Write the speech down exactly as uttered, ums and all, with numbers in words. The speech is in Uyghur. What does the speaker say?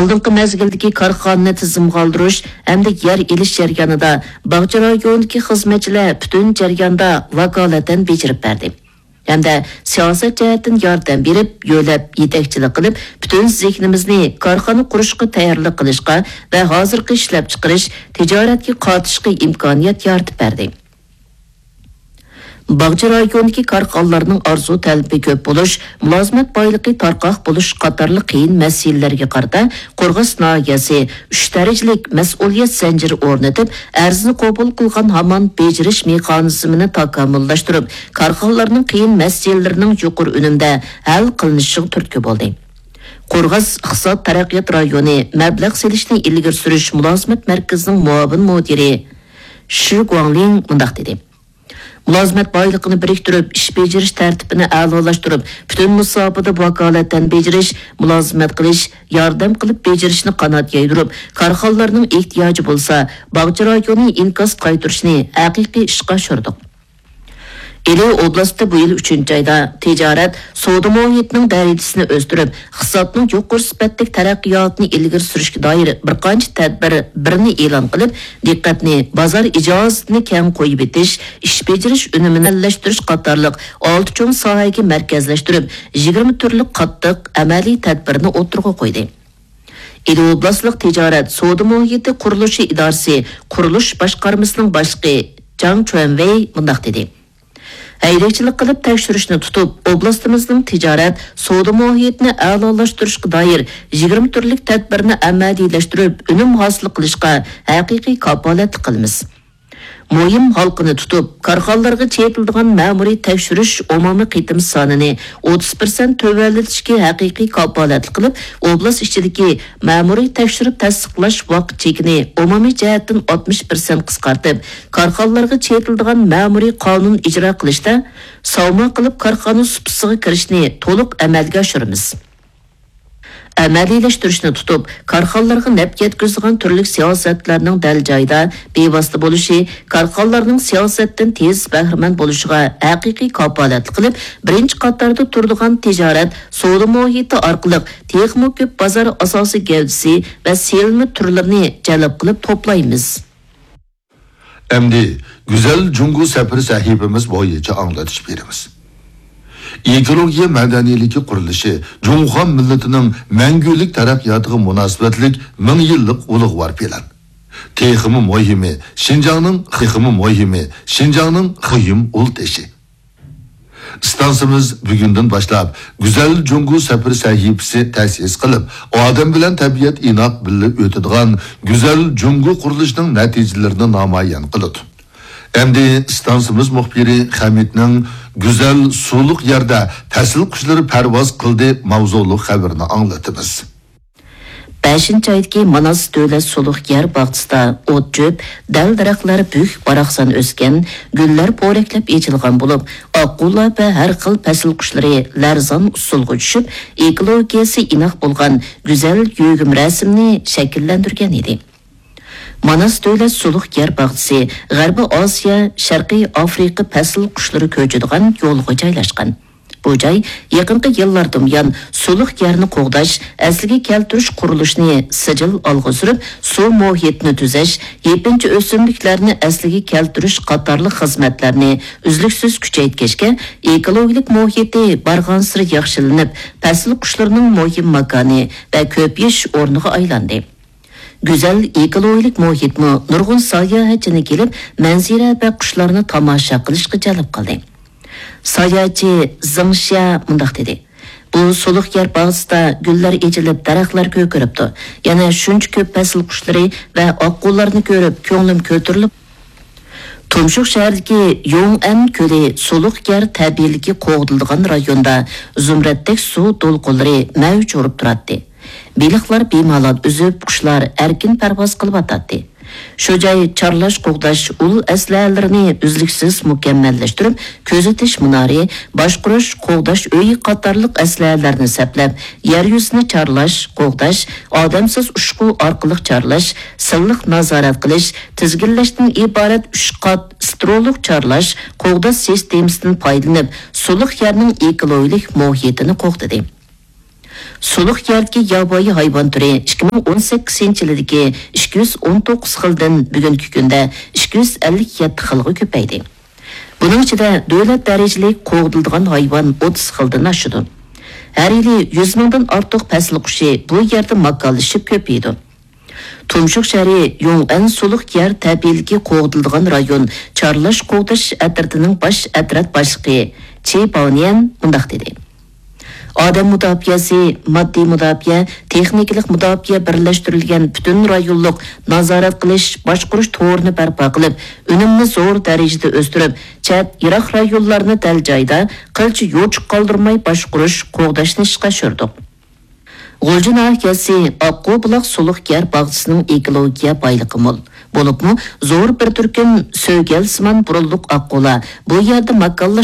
ئالدىنقى مەزگىلدىكى كارخانىنى تىزىمغا ئالدۇرۇش ھەمدە يەر ئېلىش جەريانىدا باغچە رايونىدىكى خىزمەتچىلەر پۈتۈن جەرياندا ۋاكالىتەن بېجىرىپ بەردى. ھەمدە سىياسەت جەھەتتىن ياردەم بېرىپ، يۆلەپ، يېتەكچىلىك قىلىپ، پۈتۈن زېھنىمىزنى كارخانا قۇرۇشقا تەييارلىق قىلىشقا ۋە ھازىرقى ئىشلەپچىقىرىش، تىجارەتكە قاتىشىشقا ئىمكانىيەت يارىتىپ بەردى. باغچە رايونىدىكى كارخانىلارنىڭ ئارزۇ تەلىپى كۆپ بولۇش، مۇلازىمەت بايلىقى تارقاق بولۇش قاتارلىق قىيىن مەسىلىلەرگە قارىتا، قورغاس ناھىيەسى ئۈچ دەرىجىلىك مەسئۇلىيەت زەنجىرى ئورنىتىپ، ئەرزنى قوبۇل قىلغان ھامان بېجىرىش مېخانىزمىنى تاكامۇللاشتۇرۇپ، كارخانىلارنىڭ قىيىن مەسىلىلىرىنىڭ يۇقىرى ئۈنۈمدە ھەل قىلىنىشىغا تۈرتكە بولدى. قورغاس ئىقتىساد تەرەققىيات رايونى مەبلەغ سېلىشنى ئىلگىرى سۈرۈش مۇلازىمەت مەركىزىنىڭ مۇئاۋىن مۇدىرى شى گۇاڭلىڭ مۇنداق دېدى: مۇلازىمەت بايلىقىنى بىرىكتۈرۈپ، ئىش بېجىرىش تەرتىپىنى ئەلالاشتۇرۇپ، پۈتۈن مۇساپىدە ۋاكالەتەن بېجىرىش، مۇلازىمەت قىلىش، ياردەم قىلىپ بېجىرىشنى قانات يايدۇرۇپ، كارخانىلارنىڭ ئېھتىياجى بولسا، باغچە رايونى ئىنكاس قايتۇرۇشنى ھەقىقىي ئىشقا ئاشۇردۇق. ئىلى ئوبلاستى بۇ يىل ئۈچىنچى ئايدا تىجارەت، سودا مۇھىتىنىڭ دەرىجىسىنى ئۆستۈرۈپ، ئىقتىسادنىڭ يۇقىرى سۈپەتلىك تەرەققىياتىنى ئىلگىرى سۈرۈشكە دائىر بىر قانچە تەدبىر بىرنى ئېلان قىلىپ، دىققەتنى بازار ئىجازىتىنى كەڭ قويۇۋېتىش، ئىش بېجىرىش ئۈنۈمىنى ئەللەشتۈرۈش قاتارلىق ئالتە چوڭ ساھەگە مەركەزلەشتۈرۈپ، يىگىرمە تۈرلۈك قاتتىق ئەمەلىي تەدبىرنى ئوتتۇرىغا قويدى. ئىلى ئوبلاستلىق تىجارەت سودا مۇھىتى قۇرۇلۇشى ئىدارىسى قۇرۇلۇش باشقارمىسىنىڭ باشلىقى جاڭ چۈەنۋېي مۇنداق دېدى: ھەيدەكچىلىك قىلىپ تەكشۈرۈشنى تۇتۇپ، ئوبلاستىمىزنىڭ تىجارەت، سودا مۇھىتىنى ئەلالاشتۇرۇشقا دائىر يىگىرمە تۈرلۈك تەدبىرنى ئەمەلىيلەشتۈرۈپ، ئۈنۈم ھاسىل قىلىشقا ھەقىقىي كاپالەتلىك قىلىمىز. مۇھىم ھالقىنى تۇتۇپ، كارخانىلارغا چېتىلىدىغان مەمۇرىي تەكشۈرۈش ئومۇمىي قېتىم سانىنى ئوتتۇز پىرسەنت تۆۋەنلىتىشكە ھەقىقىي كاپالەتلىك قىلىپ، ئوبلاست ئىچىدىكى مەمۇرىي تەكشۈرۈپ تەستىقلاش ۋاقىت چېكىنى ئومۇمىي جەھەتتىن ئاتمىش پىرسەنت قىسقارتىپ، كارخانىلارغا چېتىلىدىغان مەمۇرىي قانۇن ئىجرا قىلىشتا ساۋما قىلىپ كارخانا سۇپىسىغا كىرىشنى تولۇق ئەمەلگە ئاشۇرىمىز. ئەمەلىيلەشتۈرۈشنى تۇتۇپ، كارخانىلارغا نەپ يەتكۈزىدىغان تۈرلۈك سىياسەتلەرنىڭ دەل جايىدا، بىۋاسىتە بولۇشى، كارخانىلارنىڭ سىياسەتتىن تېز بەھرىمەن بولۇشىغا ھەقىقىي كاپالەتلىك قىلىپ، بىرىنچى قاتاردا تۇرىدىغان تىجارەت، سودا مۇھىتى ئارقىلىق تېخىمۇ كۆپ بازار ئاساسىي گەۋدىسى ۋە سېلىنما تۈرلىرىنى جەلپ قىلىپ توپلايمىز. ئەمدى گۈزەل جۇڭگو سەپىرى سەھىپىمىز بويىچە ئاڭلىتىش بېرىمىز. ئېكولوگىيە مەدەنىيلىكى قۇرۇلۇشى جۇڭخۇا مىللىتىنىڭ مەڭگۈلۈك تەرەققىياتىغا مۇناسىۋەتلىك مىڭ يىللىق ئۇلۇغۋار پىلان. تېخىمۇ مۇھىمى، شىنجاڭنىڭ، تېخىمۇ مۇھىمى، شىنجاڭنىڭ مۇھىم ئۇل تېشى. ئىستانسىمىز بۈگۈندىن باشلاپ گۈزەل جۇڭگو سەپىرى سەھىپىسى تەسىس قىلىپ، ئادەم بىلەن تەبىئەت ئىناق بىللە ئۆتىدىغان گۈزەل جۇڭگو قۇرۇلۇشىنىڭ نەتىجىلىرىنى نامايان قىلىدۇ. ئەمدى ئىستانسىمىز مۇخبىرى خەمىتنىڭ گۈزەل سۇلۇق يەردە پەسىل قۇشلىرى پەرۋاز قىلدى ماۋزۇلۇق خەۋىرىنى ئاڭلىتىمىز. بەشىنچى ئايدىكى ماناس دۆلەت سۇلۇق يەر باغچىسىدا ئوت-چۆپ، دەل-دەرەخلەر بۈك-باراقسان ئۆسكەن، گۈللەر پورەكلەپ ئېچىلغان بولۇپ، ئاققۇلار ۋە ھەر خىل پەسىل قۇشلىرى لەرزان ئۇسسۇلغا چۈشۈپ، ئېكولوگىيەسى ئىناق بولغان گۈزەل يۆگىمە رەسىمنى شەكىللەندۈرگەن ئىدى. ماناس دۆلەت سۇلۇق يەر باغچىسى غەربىي ئاسىيا، شەرقىي ئافرىقا پەسىل قۇشلىرى كۆچىدىغان يولغا جايلاشقان. بۇ جاي يېقىنقى يىللاردىن بۇيان سۇلۇق يەرنى قوغداش، ئەسلىگە كەلتۈرۈش قۇرۇلۇشىنى سىجىل ئالغا سۈرۈپ، سۇ مۇھىتىنى تۈزەش، يېپىنچا ئۆسۈملۈكلەرنى ئەسلىگە كەلتۈرۈش قاتارلىق خىزمەتلەرنى ئۈزلۈكسىز كۈچەيتكەچكە، ئېكولوگىيەلىك مۇھىتى بارغانسېرى ياخشىلىنىپ، پەسىل قۇشلىرىنىڭ مۇھىم ماكانى ۋە كۆپىيىش ئورنىغا ئايلاندى. گۈزەل ئېكولوگىيەلىك مۇھىتمۇ نۇرغۇن ساياھەتچىنى كېلىپ، مەنزىرە ۋە قۇشلارنى تاماشا قىلىشقا جەلپ قىلدى. ساياھەتچى زېڭ شيا مۇنداق دېدى: بۇ سۇلۇق يەر باغچىسىدا گۈللەر ئېچىلىپ، دەرەخلەر كۆكىرىپتۇ. يەنە شۇنچە كۆپ پەسىل قۇشلىرى ۋە ئاققۇلارنى كۆرۈپ، كۆڭلۈم كۆتۈرۈلۈپ، تۇمشۇق شەھىرىدىكى يوڭئەن كۆلى سۇلۇق يەر تەبىئىيلىكى قوغدىلىدىغان رايوندا زۇمرەتتەك سۇ دولقۇنلىرى مەۋج ئۇرۇپ تۇراتتى. بېلىقلار بىمالال ئۈزۈپ، قۇشلار ئەركىن پەرۋاز قىلىۋاتاتتى. شۇ جاي چارلاش، قوغداش ئۇل ئەسلىھەلىرىنى ئۈزلۈكسىز مۇكەممەللەشتۈرۈپ، كۆزىتىش مۇنارى، باشقۇرۇش، قوغداش ئۆيى قاتارلىق ئەسلىھەلەرنى سەپلەپ، يەر يۈزىنى چارلاش، قوغداش، ئادەمسىز ئۇچقۇ ئارقىلىق چارلاش، سىنلىق نازارەت قىلىش، تىزگىنلەشتىن ئىبارەت ئۈچ قات سترولۇق چارلاش، قوغداش سىستېمىسىدىن پايدىلىنىپ، سۇلۇق يەرنىڭ ئېكولوگىيەلىك مۇھىتىنى قوغدىدى. سۇلۇق يەردىكى ياۋايى ھايۋان تۈرى ئىككى مىڭ ئون سەككىزىنچى يىلىدىكى ئىككى يۈز ئون توققۇز خىلدىن بۈگۈنكى كۈندە ئىككى يۈز ئەللىك يەتتە خىلغا كۆپەيدى. بۇنىڭ ئىچىدە دۆلەت دەرىجىلىك قوغدىلىدىغان ھايۋان ئوتتۇز خىلدىن ئاشىدۇ. ھەر يىلى يۈز مىڭدىن ئارتۇق پەسىل قۇشى بۇ يەردە ماكانلىشىپ كۆپىيىدۇ. تۇمشۇق شەھىرى يۇڭئەن سۇلۇق يەر تەبىئىيلىكى قوغدىلىدىغان رايون چارلاش قوغداش ئەترىتىنىڭ باش ئەترەت باشلىقى چى باۋنيەن مۇنداق دېدى: ئادەم مۇداپىئەسى، ماددىي مۇداپىئە، تېخنىكىلىق مۇداپىئە بىرلەشتۈرۈلگەن پۈتۈن رايونلۇق نازارەت قىلىش، باشقۇرۇش تورىنى بەرپا قىلىپ، ئۈنۈمنى زور دەرىجىدە ئۆستۈرۈپ، چەت، يىراق رايونلارنى دەل جايدا قىلچە يوچۇق قالدۇرماي باشقۇرۇش، قوغداشنى ئىشقا ئاشۇردۇق. غۇلجا ناھىيەسى ئاققۇ بۇلاق سۇلۇق يەر باغچىسىنىڭ ئېكولوگىيە بايلىقى مول. بولۇپمۇ زور بىر تۈركۈم سۆگەلسىمان بۇرۇنلۇق ئاققۇلار بۇ يەردە ماكانلاشقان.